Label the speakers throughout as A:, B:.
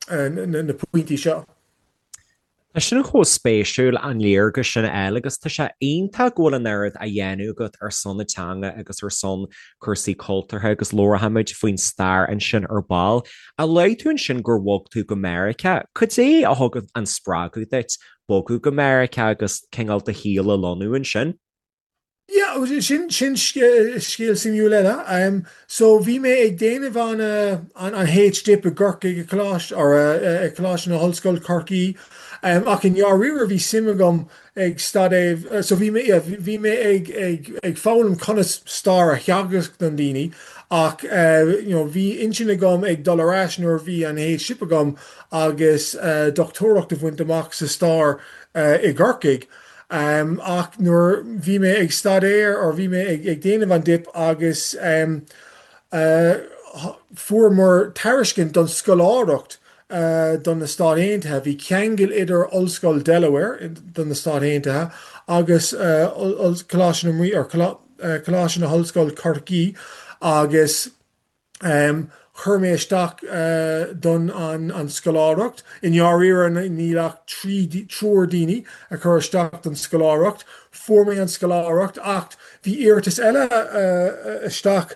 A: na pointí seo.
B: Tá sin chomh spéisiúil, an léargas sin a fháil agus tá sé iontach go bhfuil an oiread á dhéanamh agat ar son na teanga agus ar son cúrsaí cultúrtha agus labharfaimid faoin stair ansin ar ball. Ach luaigh tú ansin gur bhog tú go Meiriceá. Cad é a thug an spreagadh duit bogadh go Meiriceá agus cineál do shaol a lonnú ansin?
A: Yeah, sin sin scéal suimiúil eile. So bhí mé ag déanamh an an an H-Dip i gCorcaigh i Coláiste or i Coláiste na hOllscoile Corcaí ach i ndáiríre bhí suim agam ag staidéar so bhí mé yeah bhí mé ag ag ag foghlaim conas stair a theagasc don daoine ach you know bhí intinn agam ag dul ar ais nuair a bhí an H-Dip agam agus dochtúireacht a bhaint amach sa stair i gCorcaigh. Ach nuair bhí mé ag staidéar or bhí mé ag déanamh an dip agus fuaireamar tairiscint don scoláireacht don na Stáit Aontaithe, bhí ceangal idir Ollscoil Delaware don na Stáit Aontaithe agus Coláiste na Rí or Coláiste na hOllscoile Corcaí agus Chuir mé isteach don an scoláireacht. I ndáiríre níl ach triúr daoine a chuir isteach don scoláireacht. Fuair mé an scoláireacht ach bhí iarratas eile isteach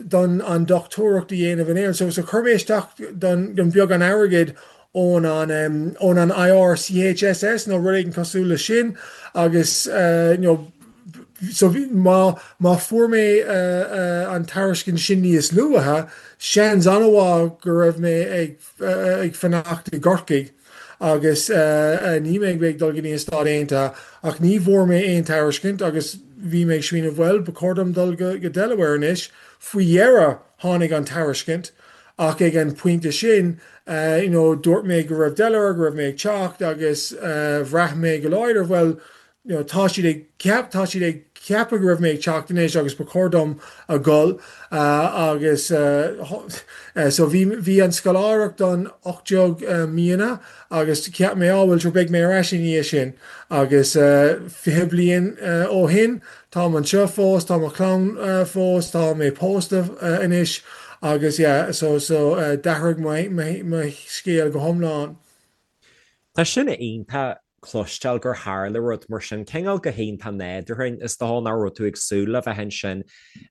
A: don an dochtúireacht a dhéanamh in Éirinn. So chuir mé isteach don beagán airgid ón an ón an IRCHSS nó rud éigin cosúil le sin agus you know so bhí má má fuair mé an tairiscint sin níos luaithe seans an-mhaith go raibh mé ag ag fanacht i gCorcaigh agus ní mé ag dul go dtí an Stáit Aontaithe ach ní bhfuair mé aon tairiscint agus bhí mé ag smaoineamh bhuel ba chóir dom dul go go Delaware anois faoi dheireadh tháinig an tairiscint Ach ag an pointe sin, you know, dúirt mé go raibh Delaware, go raibh mé ag teacht agus bhraith mé go láidir, bhuel, you know, tá siad ag ceap, tá siad ag ceapadh go raibh mé ag teacht anois agus ba chóir dom a dhul agus so bhí, bhí an scoláireacht don 18 míonna agus cheap mé, á bhuel, sure, beidh mé ar ais i ndiaidh sin agus 20 bliain ó shin, Táim anseo fós, tá mo chlann fós, tá mé pósta anois agus yeah so so d'athraigh mo mo scéal go hiomlán.
B: Tá sin iontach cloisteáil gur tharla rud mar sin, cineál go hiontach nádúrtha, is dócha nach raibh tú ag súil le bheith ansin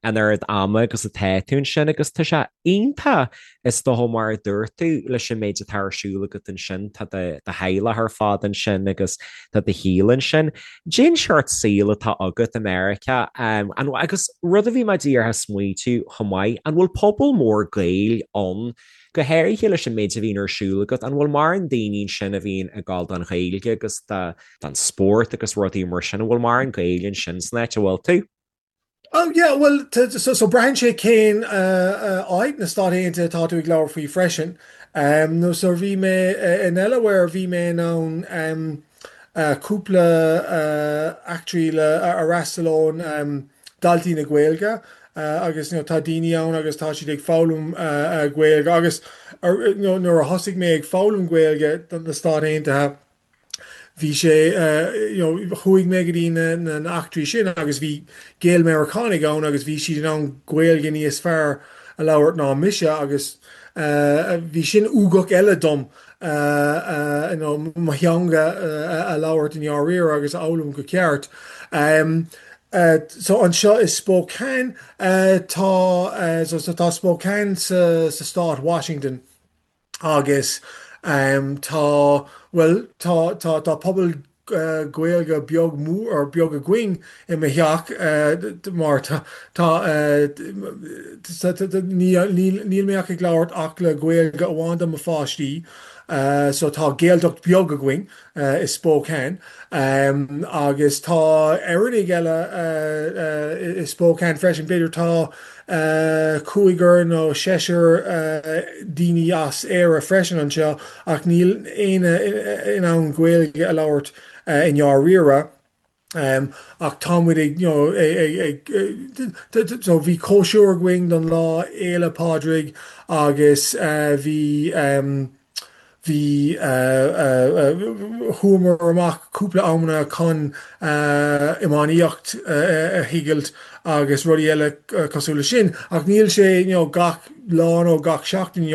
B: an oiread ama agus atá tú ansin agus tá sé iontach Is dócha, mar a dúirt tú, leis an méid atá ar siúl agat ansin, tá do theaghlach ar fad ansin agus tá do shaol ansin. Cén seort saoil atá agat i Meiriceá agus rud a bhí mé díreach ag smaoitiú chomh maith, an bhfuil pobal mór Gaeil ann, go háirithe leis an méid a bhíonn ar siúl agat, an bhfuil mórán daoine ansin a bhíonn ag gabháil don Ghaeilge agus don spórt agus rudaí mar sin, an bhfuil mórán Gaeil ansin san áit a bhfuil tú?
A: Oh yeah, bhuel, so, so braitheann sé cén áit na Stáit Aontaithe atá tú ag labhairt faoi freisin. Nó so bhí mé i nDelaware, bhí mé in ann cúpla eachtraí le a fhreastal ón Daltaí na Gaeilge agus you know, tá daoine ann agus tá siad ag foghlaim Gaeilge agus you know, nuair a thosaigh mé ag foghlaim Gaeilge don na Stáit Aontaithe, Bhí sé, you know, chuaigh mé go dtí na na eachtraí sin agus bhí Gael-Meiriceánaigh ann agus bhí siad in ann Gaeilge níos fearr a labhairt ná mise agus bhí sin ugach eile dom you know, mo theanga a labhairt i ndáiríre agus a fhoghlaim go ceart. So anseo i Spokane tá, so tá Spokane sa sa stát Washington. Agus tá, bhuel, tá, tá, tá pobal Gaeilge beag mór, or beag againn i mo theach mar tá, tá, níl, níl mé ach ag labhairt ach le Gaeilge amháin do mo pháistí, so tá Gaeltacht beag againn i Spokane. Agus tá Éireannaigh eile i Spokane freisin, b'fhéidir tá cúigear nó seisear daoine as Éire freisin anseo ach níl éinne in ann Gaeilge a labhairt i ndáiríre. Ach tá muid ag, you know, ag, so bhí cóisir againn don Lá Fhéile Pádraig agus bhí, Bhí, chuamar amach cúpla amanna chun iománaíocht a thriailt agus rudaí eile cosúil le sin ach níl sé you know gach lá nó gach seachtain.